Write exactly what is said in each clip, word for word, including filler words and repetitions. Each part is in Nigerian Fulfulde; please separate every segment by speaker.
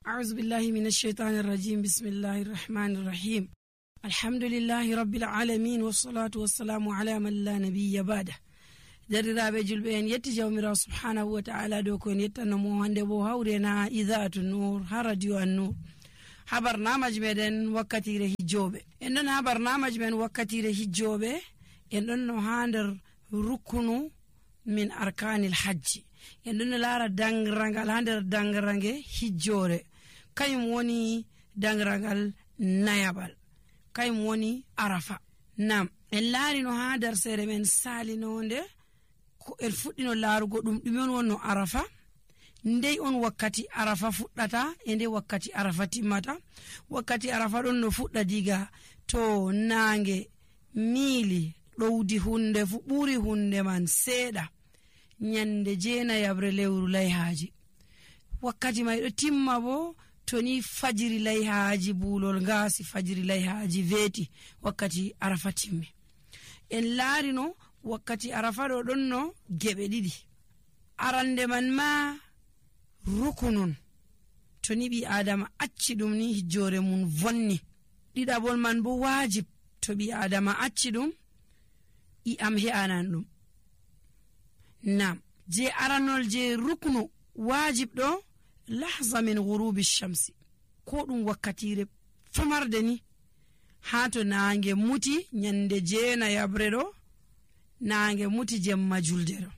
Speaker 1: أعوذ بالله من الشيطان الرجيم بسم الله الرحمن الرحيم الحمد لله رب العالمين والصلاة والسلام على من لا نبي بعده درiraɓe julɓe en yetti jawmirawo subhanahu wa ta'ala dow ko en yettanomo hande bo hawrena idaatu nur ha radio an nur ha barnamaji meɗen wakkatire hijjoɓe en ɗon ha barnamaji men wakkatire hijjoɓe en ɗon no ha nder rukunu min arkanil hajji en ɗon no laara dangrangal ha nder dangrange hijjore kayum woni dangrangal nayaɓal kayum woni arafa nam en laari no ha nder seere men salinonde ko en fuɗɗino laarugo ɗum ɗume on wonno arafa ndey on wakkati arafa fuɗɗata e nde wakkati arafa timmata wakkati arafa ɗon no fuɗɗa diga to naange miili ɗowdi hunde fu ɓuri hunde man seeɗa nyande jeenayabre lewru layhaaji wakkati may ɗo timma bo to ni fajiri layhaaji buulol ngaasi fajiri layhaaji veeti wakkati arafa timmi en laarino wakkati arafa ɗo ɗon no geɓe ɗiɗi arande man ma rukunun to ni ɓi adama acci ɗum ni hijjore mum vonni ɗiɗaɓol man bo wajib to ɓi adama acci ɗum i am he'anan ɗum nam je aranol je ruknu wajib ɗo lahza min ghurubi shamsi ko ɗum wakkatire famarde ni ha to naange muti nyande jeena yabre ɗo naange muti jemma julde ɗo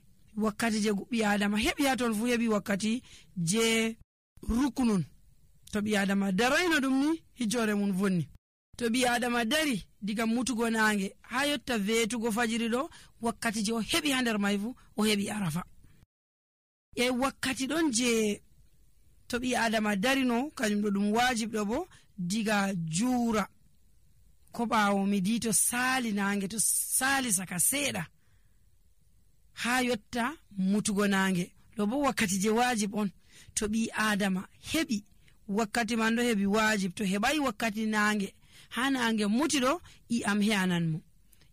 Speaker 1: wakkati je ɓi adama heɓi ha ton fu heɓi wakkati je ruknun to ɓi adama darayno ɗum ni hijjore mum vonni to ɓi adama dari diga mutugo naange ha yotta veetugo fajiri ɗo wakkati je o heɓi ha nder may fu o heɓi arafa e wakkati ɗon je to ɓi adama darino kañum ɗo ɗum wajib ɗo bo diga juura ko ɓaawo midi to saali naange to saali saka seeɗa ha yotta mutugo naange ɗo bo wakkati je wajib on to ɓi adama heɓi wakkati man ɗo heɓi wajib to heɓai wakkati naange ha naange muti ɗo i am he'anan mo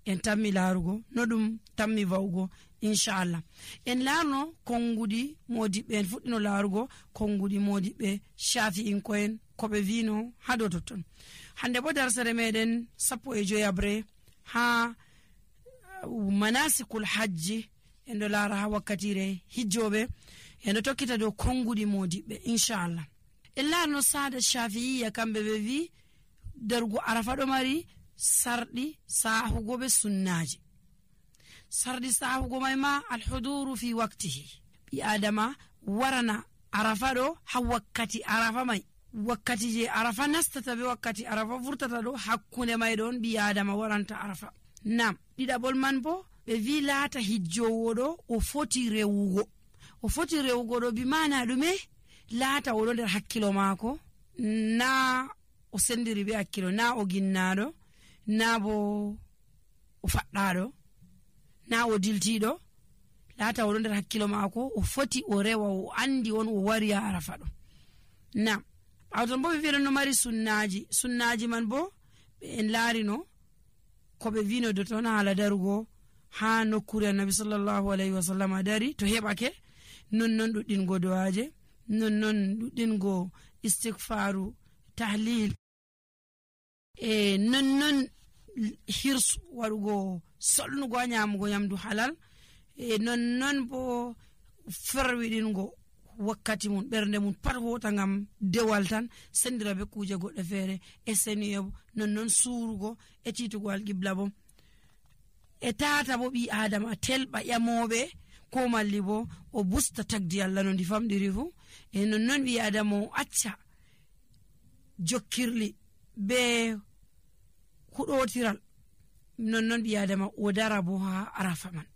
Speaker 1: en tammi laarugo no ɗum tammi vawugo inchallah en laarno konngudi modiɓɓe en fuɗɗino laarugo konngudi modiɓɓe shafi'in ko'en koɓe vino ha dow totton hande bo darsere meɗen sappo e joyabre ha manasikul hajji en ɗo laara ha wakkatire hijjoɓe en ɗo tokkita dow konngudi modiɓɓe inchallah en laarno saada shafi'iya kamɓe ɓe wi darugo arafa ɗo mari sarɗi sahugo be sunnaji sarɗi sahugo may ma alhuduru fi waktihi ɓi adama warana arafa ɗo ha wakkati arafa may wakkati je arafa nastata be wakkati arafa vurtata ɗo hakkunde may ɗon ɓi adama waranta arafa nam ɗiɗaɓol man bo ɓe wi laata hijjowo ɗo o foti rewugo o foti rewugo ɗo bi mana ɗume laata oɗo nder hakkilo maako na o sendiri be hakkilo na o ginnaɗo na bo o faɗɗaɗo na o diltiɗo laata oɗo nder hakkilo maako o foti o rewa o andi on o wari ha arafa ɗo nam ɓawton bo ɓe wiɗon no mari sunnaji sunnaji man bo ɓe en laarino ko ɓe wino do ton haala darugo ha nokkure annabi sallallahu alayhi wa sallam dari to heɓake nonnon ɗuɗɗingo do'aje nonnon ɗuɗɗingo istighfaru tahlil e nonnon hirsu waɗugo solnugo ha nyamugo nyamdu halal e nonnon bo ferwiɗingo wakkati mum ɓernde mum pat hota ngam dewal tan sendira be kuje goɗɗe feere e seniyo nonnon suurugo e titugo alqibla bo e tata bo ɓi adama telɓa ƴamoɓe ko malli bo o busta tagdi Allah no ndi famɗiri fu e nonnon ɓi adama o acca jokkirli be huɗotiral nonnon ɓi adama o dara bo ha arafa man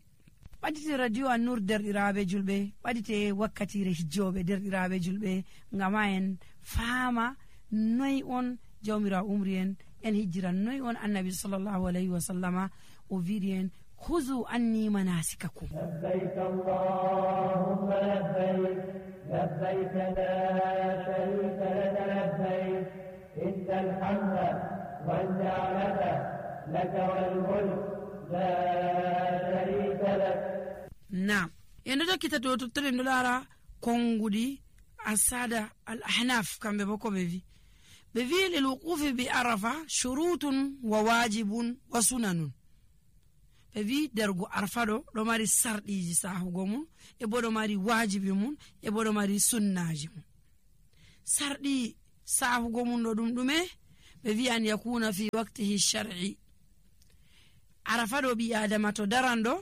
Speaker 1: ɓadite radio an nur derɗiraɓe julɓe ɓadite wakkatire hijjoɓe derɗiraɓe julɓe ngam ha en faama noy on jawmirawo umri en en hijjiran noy on annabi sallallahu alayhi wa sallama o wiiri en huzu anni manasikakum
Speaker 2: labbayk allahumma labbayk labbayk la sharika laka labbayk innal hamda wan ni'mata laka wal mulk la sharika lak
Speaker 1: nam en ɗo tokkita to tottoɗen ɗo laara konngudi asada al ahnaf kamɓe bo ko ɓe wi ɓe wi lil wuqufi bi arafa shurutun wa wajibun wa sunanun. ɓe wi dergo arfa ɗo ɗo mari sarɗiji sahugo mum e bo ɗo mari wajibi mum e bo ɗo mari sunnaji mum. sarɗi sahugo mum ɗo ɗum ɗume? ɓe wi an yakuna fi waqtihi shar'i. arafa ɗo ɓi adama to daran ɗo